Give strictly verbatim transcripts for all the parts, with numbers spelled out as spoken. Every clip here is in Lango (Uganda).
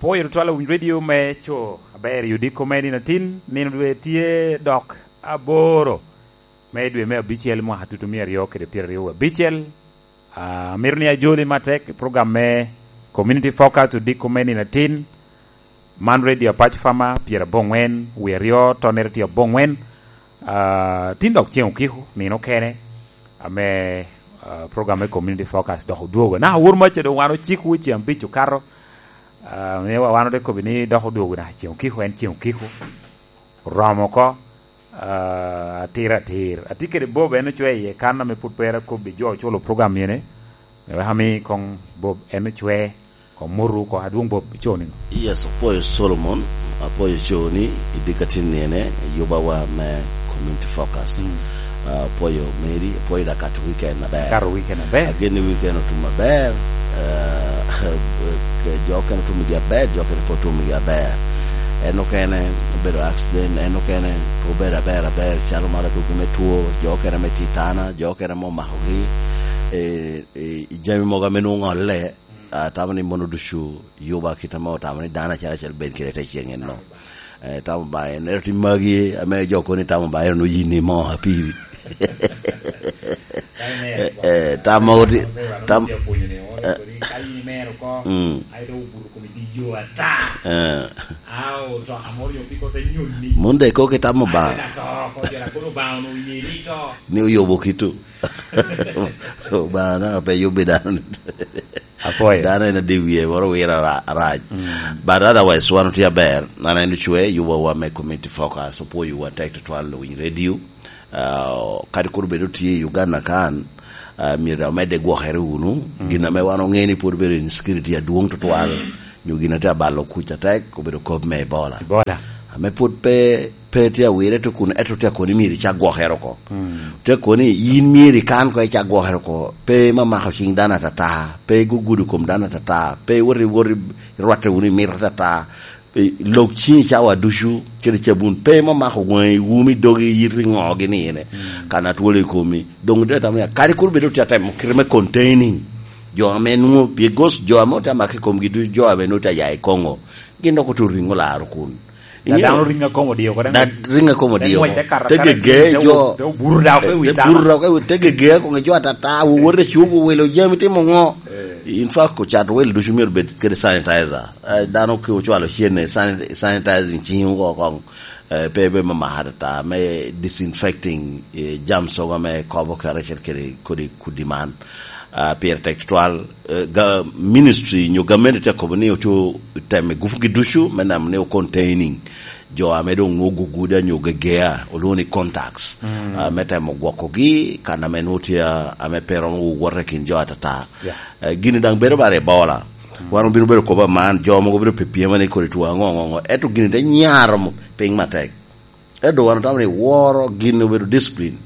Pwoyo tutwal awiny radio me co aber i odiko me nino atin, nino dwe tye dok aboro me dwe me abicel mwaka tutu mia aryo kede pyeraryo abicel. Ah, amito ni ajoli matek i program me Community Focus odiko me nino atin. Man radio Apac Fama, pyerabongwen, wie aryo, tonnere tye abongwen. Ah, tin dok ceng okiko, nino kene, ame, ah, program me Community Focus dok odwogo. Na awor maca doŋ wan ociko wecen abic okato. Ah, ne wa-, wan ote kobbi ni dok odwogo na ceng okiko, en ceng okiko. Oromo oko, ah, atir atir. Atye kede Bob, en ocwe iye kan ame pwod pe akobbi jo oculo program ene. Me wek ami koŋ Bob, en ocwe, koŋ motu oko, adwoŋ Bob, ico niŋo? Yes, apwoyo Solomon, apwoyo coni, i dikatin niene, yubawa me Community Focus. Mm. Ah, apwoyo Mary, apwoyo da kato weekend aber. Kato weekend aber. Ageni weekend otum aber, eh, ke jo okene otum gi aber, jo okene pe otum gi aber. En okene obedo accident, en okene pe obedo aber aber, calo mar adugi me two, jo okene me titana, jo okene me omakogi, eh, eh, i jami mogo ame nwoŋo oŋolle, atamo ni mono ducu yuba kit ame otamo ni dano acel acel bed kede te ceŋ enno. Eh, tamo ba en, ento ti magi ame jo koni tamo ba en oyin ni mo apiri. Eh, eh, tam mogo ti-, tam, eh, mm. Eh. Mun de kok itamo ba. Ni oyubo kitu. Obaŋa naka pe yubbi dano ni. Apwoyo. Dano en adi wie moro wira ra-, rac. Mm. But otherwise, wan otye aber. An en ocwe, yubo wa me Community Focus, opwoyo wa tek tutwal owiny radio. Ah, kadi kur bedo tye i Uganda kan, ah, myero dok omedde gwokere wunu. Mm. Gin ame wan oŋe ni pwod bedo insecurity adwoŋ tutwal. Nyo gin atye abalo kuc atek, obedo kop me Ebola. Ebola. Ame pwod pe, pe tye awire to kun, ento tye akoni myero icak gwokere oko. Mm. Tye akoni yin myero ikan ko icak gwokere oko. Pe mamako cing dano atata, pe gugudo kom dano atata, pe woti, woti rwatte wunu i mito atata. Pe lok ciŋi cawa ducu, kede cabun, pe mamako waŋi, wumi, dogi, yiti, ŋo gini ene. Mm. Kan atwolo i komi. Doŋ tye atamo ni, kadi kur bedo tye atemo kite me containing. Jo ame nwoŋo, because jo ame otye amako i komgi ducu, jo ame nwoŋo tye aya i Congo. Gin dok otuto riŋo laro kun. Da dano riŋo akomo dio ko, da riŋo akomo dio ko. Te gege jo, te obuto da oko i wi tana. Te obuto da oko i wi, te gege akomo jo atata, wowote cubo, welo jami timo ŋo. Eh. In fact, ocat wel ducu myero bed kede sanitizer. Eh, dano ke ocwalo cene, sanit-, sanitizing ciŋ oko koŋ. Eh, pe, pe me maka atata, me disinfecting, eh, jam soga me kobo karacel kede kodi kudi man. Ah, pire tek tutwal, eh, ga-, ministry nyo gamente tye akobo ni oco temo gupugi ducu me neno ni o containing jo ame doŋ nwoŋo guguda nyo gegea, olwoŋo ni contacts. Mm. Ah, me temo gwokogi, kan ame nwoŋo tye, ah, ame pe romo wowote i kin jo atata. Yeah. Eh, gini daŋ bedo bara Ebola. Mm. Wan obino bedo kobo aman, jo mogo bino pe pyema ni kodi tuo aŋo, aŋo, aŋo. Ento gini te nyaro mo-, piny matek. Ento wan otamo ni woro gin obedo discipline.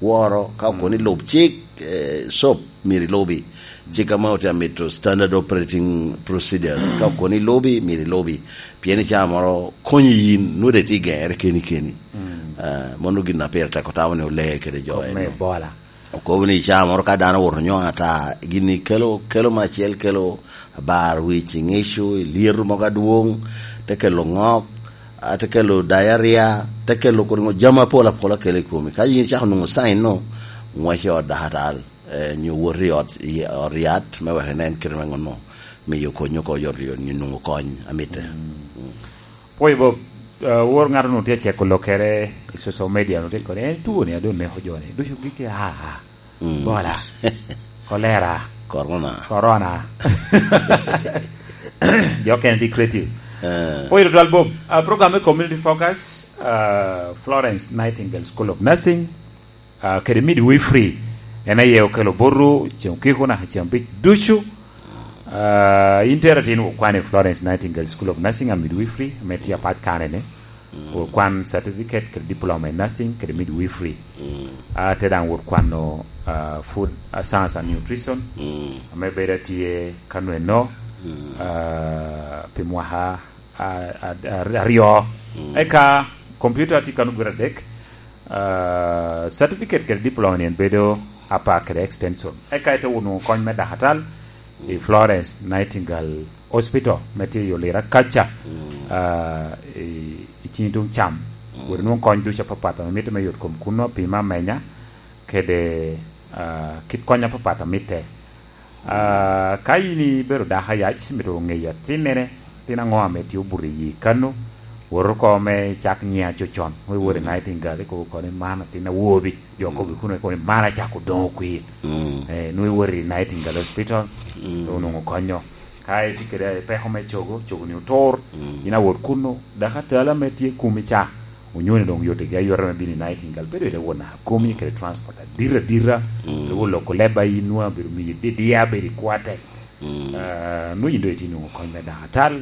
Woro, ka okoni lub cik, eh, cop, myero ilubi. Cik ame otye amito standard operating procedures. Ka okoni ilubi, myero ilubi. Pien i caa moro konyi yin, nwoŋo dek tye igere keni keni. Mm. Eh, mano gin a pire tek otamo ni olee kede jo eno. Ebola. Okobo ni i caa moro ka dano owoto nyoŋ ata, gini kelo, kelo me acel kelo abar wic, iŋico, ilyeto mogo adwoŋ, te kelo ŋok, a, te kelo diarrhea, te kelo kodi ŋo, jami apol apol akelo i komi. Ka yin icako nwoŋo sign no, ŋwec i ot dakatal, eh, nyo wot i ot, i ot yat, me wek inen kite me ŋonno, miyo konyo oko yot yot, nyo nwoŋo kony, amitte. Mm. Mm. Pwoyo Bob, eh, wor ŋato onwoŋo tye aceko lokere i social media, onwoŋo tye koni, en tuo ni a doŋ neko jo ni, ducu gik a, a, mm, Ebola, cholera, corona. Corona. Jo okene tye creative. Eh. Pwoyo tutwal Bob, ah, program me Community Focus, ah, Florence Nightingale School of Nursing, ah, kede midwifery, en aye okelo botwu ceŋ okiko naka ceŋ abic ducu. Ah, in tera tin okwan i Florence Nightingale School of Nursing and Midwifery, ame tye apat kare ni. Mm. Okwan certificate kede diploma in nursing kede midwifery. Mm. Ah, te daŋ wot kwano, ah, food science and nutrition, mm, ame bedo atye ka nweno, mm, ah, pi mwaka a-, a-, a-, aryo. Mm. Eka computer atye kano gure adek. Ah, certificate kede diploma ni en bedo apa kede extension. Eka ite onwoŋo kony me dakatal i Florence Nightingale hospital me tye i Olira kaca, mm, ah, i, i cini tuŋ cam. Mm. Wot inwoŋ kony ducu apapat ame mitte me yot kom kunno, pima, amenya, kede, ah, kit kony apapat amitte. Ah, ka in ibedo dako ayac, mito ŋeyo atinnene, tin aŋo ame tye obuto i yi kano, wot oko me icak nyiŋ acocon, nwoŋo iwot i, mm, Nightingale, ikobo oko ni, "Man atin awobi." Jo, mm, okobo kuno, ikobo ni, "Man acako doŋo kwir." Mm. Eh, nwoŋo iwot i Nightingale Hospital, mm, onwoŋo konyo. Ka itye kede peko me cogo, cogo-ni otur, mm, in awot kuno, dako atala ame tye kumi ca, onyoni doŋ yotigi ayota me bino i Nightingale, bedo ite won naka komi kede transport adit adita, mm, bedo won loko leba in nwa, bedo miyi didiya, bedo i kwate. Mm. Ah, nwoŋo yin doŋ itye nwoŋo kony me dako atal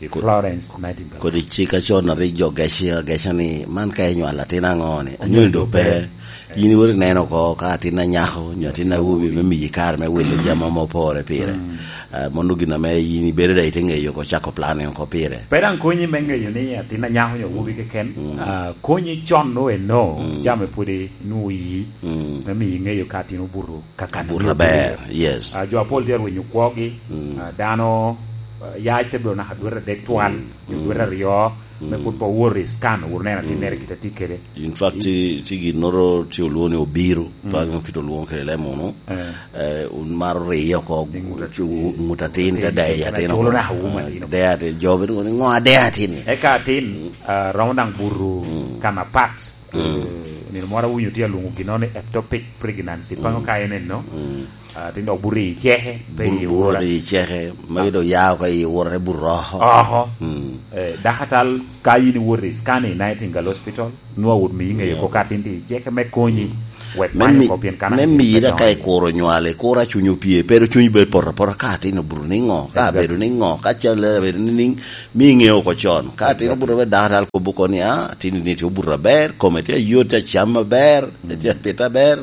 i Ko-, Florence Nightingale. Kodi cik acon a rik jo gec, geca ni, "Man ka inywalo atin aŋo ni? Onyoni doŋ pe." Onyoni doŋ pe. In iwot ineno oko ka atin anyako, nyo atin awobi me miyi kare me wilo jami ame opore pire. Mm. Ah, mano gin ame in ibedo daŋ ite ŋeyo oko, cako planning oko pire. Pe daŋ konyi me ŋeyo ni atin anyako nyo awobi keken, mm, ah, konyi con no eno, mm, jami pwod inwoŋo iyi, mm, me miyo iŋeyo ka atin obuto kakano. Obuto aber, yes. Ah, jo apol tye arwenyo kwogi, mm, ah, dano, ah, yac te bedo naka dwete adek twal, mm, nyo, mm, dwete aryo, me, mm, pwod pe owoto i scan, wot neno atinnere, mm, kite tye kede. In fact, i-, tye, tye ginnoro tye olwoŋo ni obiro, mm, pe aŋeo kite olwoŋo kede leb munu. Eh. Eh, wun maro riyo oko, i ŋut at-, cu-, ŋut atin, ŋut atin, te deyo atin, culo oko. Naka wun, eh, atin oko. Deyo atin, jo bedo ni, "Ŋo adeyo atin-ni?" Eka atin, mm, ah, romo daŋ buto, mm, kan apat. Mm. Eh, nino moro awinyo tye alwoŋo gino ni ectopic pregnancy, mm, paŋo ka en eno. Mm. Ah, tin dok buto i ceke, pe i wora. Buto i ceke, magi dok ya oko i wora, te buto oko. Oko. Mm. Eh, dako atal, ka yin iwoto i scan i Nightingale Hospital, nwoŋo awot miyi ŋeyo, yeah, oko ka atin tye i ceke me konyi, wek me many mi-, oko pien kan me atin miyi pe da ka dongo. Ikuro nywal, ikuro a cunyi opye, pe dok cunyi bedo poto apota ka atin obuto niŋo, ka, exactly, abedo niŋo, ka cal abedo niŋ, mi iŋeo oko con. Ka atin, exactly, obuto aber, dako atal kobo oko ni, "Ah, atin ni tye obuto aber, kome tye ayot, tye acam aber, mm, tye apito aber,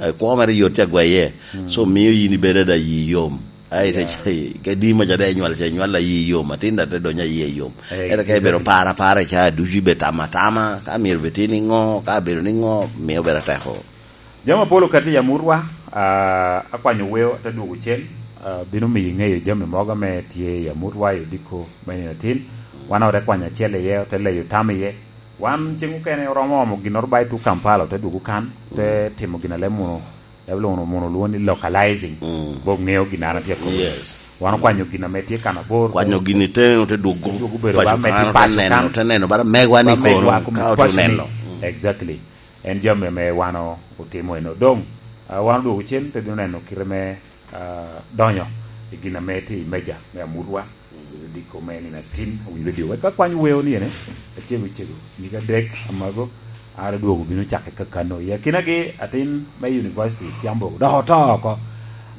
eh, kwo mere yot, tye agweye." Mm. So, mio yin ibedo ada yi yom. Ai, te, yeah, ca-, ka di maca de inywal, ca inywal ayi yom, atin da te donyo ayi yom. Eh, ento ka ibedo, exactly, paro apara ca ducu, ibedo tamo atama, ka myero bed tye niŋo, ka abedo niŋo, mio bedo ateko. Jami apol okati i amutwa, ah, akwanyo weo, ate dwogo cen, ah, bino miyo iŋeyo jami mogo ame tye i amutwa i odiko me nino atin. Wan ote kwanyo acel iye, ote leyo tam iye. Wan ceŋ okene oromo omo ginnoro ba i tuk Kampala, ote dwogo kan, ote, mm, timo gin a leb munu, leb munu, munu lwongo ni localizing. Mm. Bo ŋeo gin an atye akobo. Yes. Wan okwanyo gin ame tye kan abor. Kwanyo gin i teŋe, ote dwogo, dwogo bedo paco ba med kan, i paco ote neno, kan, ote neno bara megwa ni, ba megwa kono, komo ka ote paco ni neno. Mm. Exactly. En jami ame wan o-, otimo eno. Doŋ, ah, wan odwogo cen, te bino neno kite me, ah, donyo i gin ame tye i meja me amutwa, odiko me nino atin, awinyo redio. Wek akwany weo ni ene, acego cego, nyig adek amago, an adwogo bino cakke kakano. I akinagi, atin me University Kiambogo dok oto oko.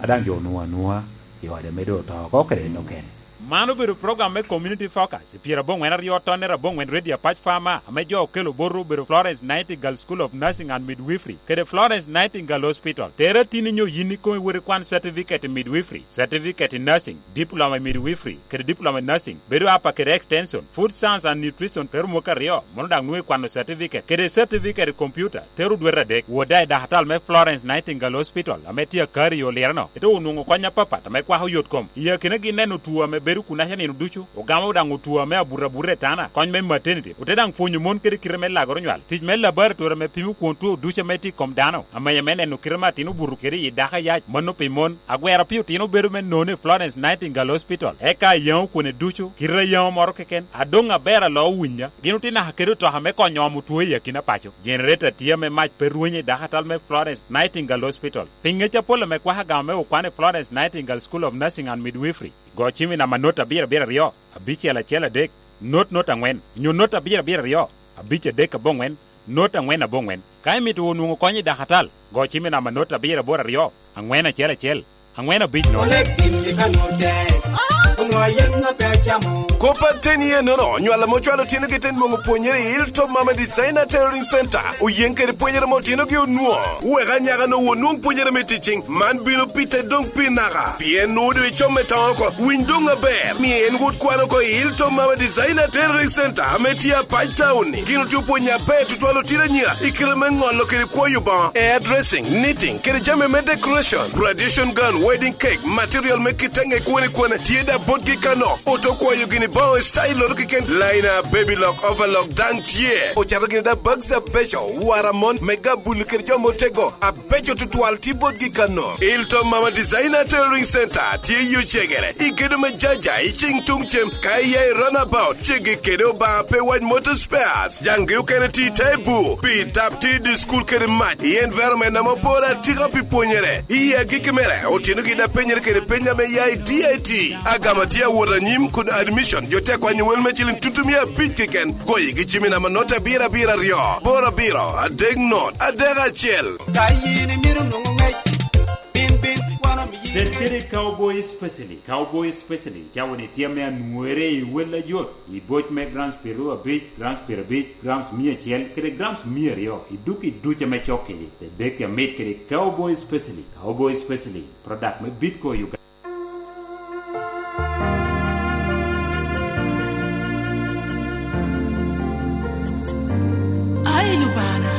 A daŋ jo onwoŋo anwoŋa i ode me doŋ oto oko kede en okene. Man obedo program me Community Focus, i pyeraboŋwen aryo tonnere aboŋwen Radio Apac Farmer, ame jo okelo botwu obedo Florence Nightingale School of Nursing and Midwifery, kede Florence Nightingale Hospital. Tere atinni nyo yin ikoŋ iwot ikwan certificate in midwifery, certificate in nursing, diploma in midwifery, kede diploma in nursing, bedo apa kede extension, food science and nutrition, tero mwaka aryo, mono daŋ nwoŋo ikwano certificate, kede certificate in computer, tero dwete adek. Wot daŋ i dakatal me Florence Nightingale Hospital, ame tye akari i Olireno, ite onwoŋo kony apapat ame kwako yot kom. I akinagi neno two ame bedo kunaca nino ducu, ogamo daŋ two ame abuto abuta i tana, kony me maternity, ote daŋ pwonyo mon kede kite me lagoro nywal, tic me laboratory ame pimo kwon two ducu ame tye i kom dano, amenya me neno kite me atin obuto kede i dako ayac, mano pi mon. Agwero pi otino bedo me nono i Florence Nightingale Hospital, eka ayaŋo kwone ducu, kite ayaŋo moro keken, adoŋ aber alo owinya. Gin otye naka kede otoka me konyo omo two i akina paco. Generator tye ame mac pe rwenyo i dakatal me Florence Nightingale Hospital. Pi ŋec apol ame kwako agama me okwan i Florence Nightingale School of Nursing and Midwifery, go cim i namba not abiro abiro aryo, abicel acel adek, not not angwen, nyo not abiro abiro aryo, abic adek aboŋwen, not angwen aboŋwen. Ka imito onwoŋo kony i dakatal, go cim i namba not abiro aboro aryo, angwen acel acel, angwen abic nono. Onek gin i kanut tek, onwoŋo ayen maber. Kop ateni ennono, nywal ame ocwalo otinogi te nwoŋo pwonyere i Hilltop Mama Designer Tailoring Center, oyeŋ kede pwonyere ame otinogi onwoŋo. Wek anyaka-nu onwoŋ pwonyere me ticing, man bino pite doŋ pi naka, pien nwoŋo doŋ icom me toŋo oko. Winy doŋ aber, ni en wot kwan oko i Hilltop Mama Designer Tailoring Center ame tye Apac Town-ni. Gin otye opwonyo aber tutwal otino anyira i kite me ŋolo kede kwoyo boŋo, hairdressing, knitting, kede jami me decoration, graduation gown, wedding cake, material me kite ŋe kwone kwone, tye da botgi kano. Oto kwayo gini boŋo i style-loto keken, liner, baby lock, overlock daŋ tye. Ocato gini da bags abeco, wara mon, me gabuli kede jo motego, abeco tutwal tye botgi kano. Hilltop Mama Designer Tailoring Center tye i Ocegere, i gedo me Jaja, i cing tuŋ cem, ka iya i runabout, ceggi kede Obaŋa pe wac Motor Spares. Jaŋgi okene tye i te bur, pi tap tye i dye cukul kede mac, i environment ame opore atika pi pwonyere. I agikki mere, otinogi daŋ penyere kede peny ame ya i D I T. Agama tye awot anyim kun admission jo tye akwanyo wel me ciliŋ tutumia abic keken. Goyigi cim i namba not abiro abiro aryo, boro abiro, adek not, adek acel. Ka yin imito nwoŋo ŋec, bin, bin, wan omiyi. Bed kede Cowboy Specialist. Cowboy Specialist cawa ni tye ame anwore i wel ajot, i boc me grams pyeraryo abic, grams pyerabic, grams mia acel, kede grams mia aryo, i duk i duc ame cok kede. Te deki amit kede Cowboy Specialist. Cowboy Specialist, product me Bidco Uganda. Ai Lubana,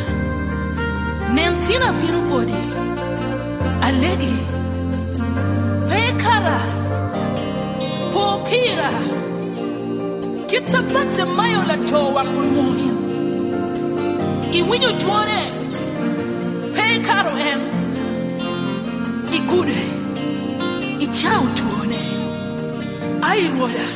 nen tin abino boti, alegi, pe ikara, po pira, kit a Bartimayo latowa kun muŋ in. Iwinyo twone, pe ikaro en, igude, icao twone. Ai Rwoda,